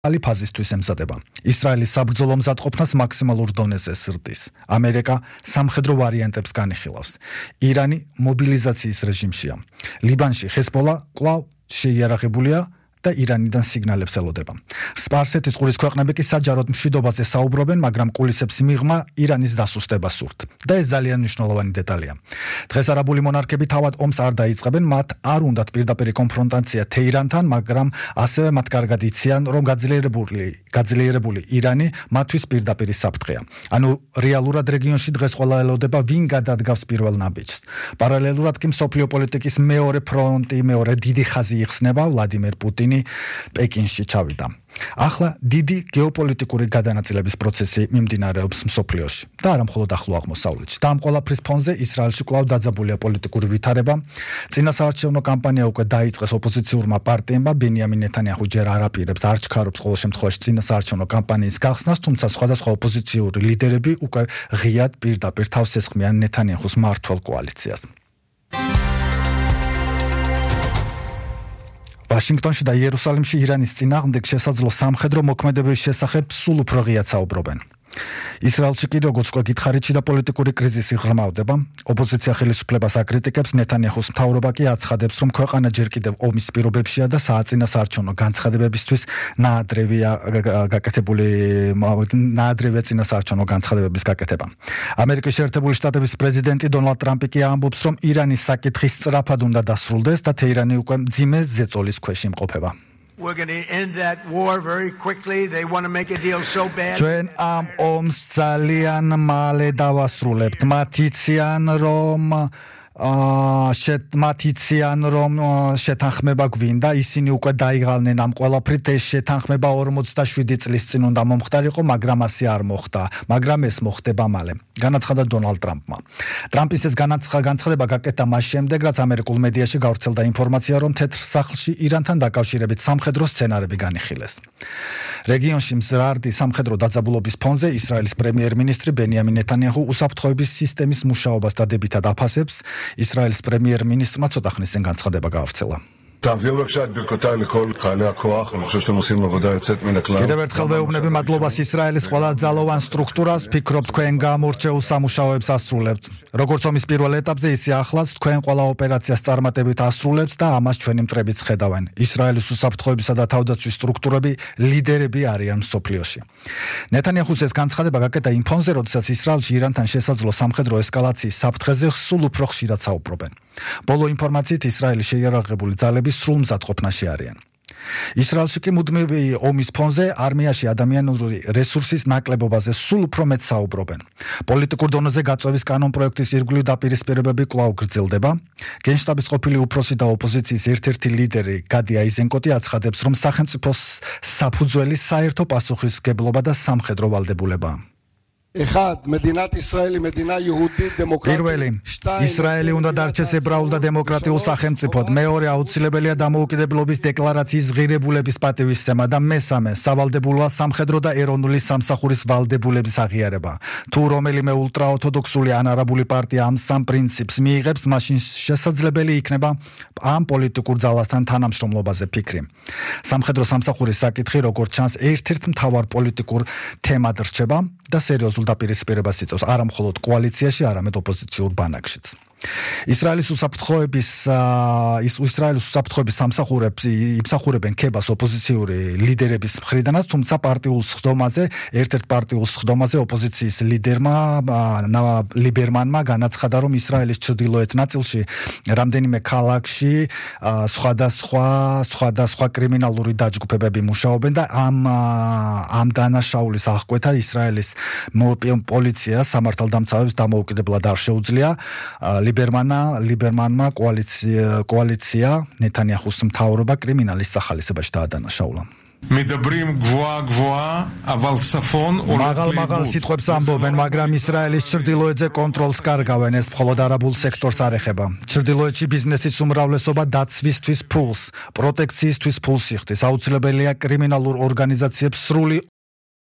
άλλη ფაზისთვის ემზადება. ისრაელის საბრძოლო მზადყოფნას მაქსიმალურ დონეზე სრდის. ამერიკა სამხედრო ვარიანტებს განიხილავს. ირანი მობილიზაციის რეჟიმშია. ლიბანში ჰეზბოლა კვლავ შეიარაღებულია და ირანიდან სიგნალებს ელოდება. სპარსეთის ყურის ქვეყნები კი საჯაროდ მშვიდობაზე საუბრობენ, მაგრამ კულისებს მიღმა ირანის დასუსტება სურთ. და ეს ძალიან მნიშვნელოვანი დეტალია. დღეს არაბული მონარქები თავად ომს არ დაიწყებენ, მათ არ უნდათ პირდაპირი კონფრონტაცია თეირანთან, მაგრამ ასევე მათ კარგად იციან, რომ გაძლიერებული ირანი მათთვის პირდაპირი საფრთხეა. ანუ რეალურად რეგიონში დღეს ყველა ელოდება, ვინ გადადგავს პირველ ნაბიჯს. პარალელურად კი მსოფლიო პოლიტიკის მეორე ფრონტი, მეორე დიდი ხაზი იხსნება, ვლადიმერ პუტინი პეკინში ჩავიდა. ახლა დიდი გეოპოლიტიკური გადანაწილების პროცესი მიმდინარეობს მსოფლიოში და არა მხოლოდ ახლო აღმოსავლეთში. და ამ ყველაფრის ფონზე ისრაელში კვლავ დაძაბულია პოლიტიკური ვითარება. წინასაარჩევნო კამპანია უკვე დაიწყეს ოპოზიციურმა პარტიებმა. ბენიამინ ნეთანიაჰუ ჯერ არ აპირებს, არ ჩქარობს ყოველ შემთხვევაში წინასაარჩევნო კამპანიის გახსნას, თუმცა სხვადასხვა ოპოზიციური ლიდერები უკვე ღიად პირდაპირ თავს ესხმიან ნეთანიაჰუს მმართველ კოალიციას. ვაშინგტონში და იერუსალიმში ირანის წინააღმდეგ შესაძლო სამხედრო მოქმედების შესახებ სულ უფრო ღიად საუბრობენ. ისრაელში კი როგორც უკვე გითხარით, და პოლიტიკური კრიზისი ღრმავდება. ოპოზიცია ხელისუფლებას აკრიტიკებს, ნეთანიაჰუს მთავრობა კი აცხადებს, რომ ქვეყანა ჯერ კიდევ ომის პირობებშია და სააწინასაარჩევნო განცხადებებისთვის ნაადრევია წინასაარჩევნო განცხადებების გაკეთება. ამერიკის შეერთებული შტატების პრეზიდენტი დონალდ ტრამპი კი ამბობს, რომ ირანის საკითხი სწრაფად უნდა დასრულდეს და თეირანი უკვე მძიმე ზეწოლის ქვეშ იმყოფება. We're going to end that war very quickly. They want to make a deal so bad. ჩვენ ამ ომს ძალიან მალე დავასრულებთ. მათიციან რომ შეთანხმება გვინდა, ისინი უკვე დაიღალნენ ამ ყველაფრით. ეს შეთანხმება 47 წლის წინ უნდა მომხდარიყო, მაგრამ ასე არ მოხდა. მაგრამ ეს მოხდება მალე. განაცხადა დონალდ ტრამპმა. ტრამპის ეს განცხადება გაკეთდა მას შემდეგ, რაც ამერიკულ მედიაში გავრცელდა ინფორმაცია, რომ თეთრ სახლში ირანთან დაკავშირებით სამხედრო სცენარები განიხილეს. რეგიონში მზრარდი სამხედრო დაძაბულობის ფონზე ისრაელის პრემიერ-მინისტრი ბენიამინ ნეთანიაჰუ უსაფრთხოების სისტემის მუშაობას დადებითად აფასებს. ისრაელის პრემიერ-მინისტრმა ცოტა ხნის წინ განცხადება გაავრცელა. კიდევ ერთხელ ვეუბნები მადლობას ისრაელის ყველა ძალოვან სტრუქტურას, ვფიქრობ თქვენ გამორჩეულ სამუშაოებს ასრულებთ. როგორც ომის პირველ ეტაპზე, ისე ახლაც თქვენ ყველა ოპერაციას წარმატებით ასრულებთ და ამას ჩვენი მტრებიც ხედავენ. ისრაელის უსაფრთხოებისა და თავდაცვის სტრუქტურები ლიდერები არიან მსოფლიოში. ნეთანიაჰუს ეს განცხადება გაკეთდა იმ ფონზე, როდესაც ისრაელში ირანთან შესაძლო სამხედრო ესკალაციის საფრთხეზე სულ უფრო ხშირად საუბრობენ. ბოლო ინფორმაციით ისრაელის შეიარაღებული ძალები სრულ მზადყოფნაში არიან. ისრაელში კი მუდმივი ომის ფონზე არმიაში ადამიანური რესურსის ნაკლებობაზე სულ უფრო მეტ საუბრობენ. პოლიტიკურ დონეზე გაწევის კანონპროექტის ირგვლივ დაპირისპირებები კვლავ გრძელდება. გენშტაბის ყოფილი უფროსი და ოპოზიციის ერთ-ერთი ლიდერი გადი აიზენკოტი აცხადებს, რომ სახელმწიფოს საფუძველი საერთო პასუხისმგებლობა და სამხედრო ვალდებულებაა. პირველი, ისრაელი უნდა დარჩეს ებრაულ და დემოკრატიულ სახელმწიფოდ. მეორე, აუცილებელია დამოუკიდებლობის დეკლარაციის ღირებულების პატივისცემა და მესამე, სავალდებულოა სამხედრო და ეროვნული სამსახურის ვალდებულების აღიარება. თუ რომელიმე ულტრაორთოდოქსული ან არაბული პარტია ამ სამ პრინციპს მიიღებს, მაშინ შესაძლებელი იქნება ამ პოლიტიკურ ძალასთან თანამშრომლობაზე ფიქრი. სამხედრო სამსახურის საკითხი, როგორც ჩანს, ერთ-ერთ მთავარ პოლიტიკურ თემად რჩება და სერიოზულ დაპირისპირებას იწვევს არა მხოლოდ კოალიციაში, არამედ ოპოზიციურ ბანაკშიც. ისრაელის უსაფრთხოების სამსახურებს იმსახურებენ ქებას ოპოზიციური ლიდერების მხრიდანაც, თუმცა ერთ-ერთ პარტიულ სხდომაზე ოპოზიციის ლიდერმა ლიბერმანმა განაცხადა, რომ ისრაელის ჩრდილოეთ ნაწილში რამდენიმე ქალაქში სხვადასხვა კრიმინალური დაჯგუფებები მუშაობენ და ამ დანაშაულის აღკვეთა ისრაელის პოლიცია სამართალდამცავებს დამოუკიდებლად არ შეუძლია. ლიბერმანმა კოალიცია ნეთანიაჰუს მთავრობა კრიმინალის სახალისებაში დაადანაშაულა. მაღალ სიტყვებს ამბობენ, მაგრამ ისრაელის ჩრდილოეთზე კონტროლს კარგავენ. ეს მხოლოდ არაბულ სექტორს არ ეხება. ჩრდილოეთში ბიზნესის უმრავლესობა დაცვისთვის ფულს, პროტექციისთვის ფულს იხდის. აუცილებელია კრიმინალურ ორგანიზაციებს სრული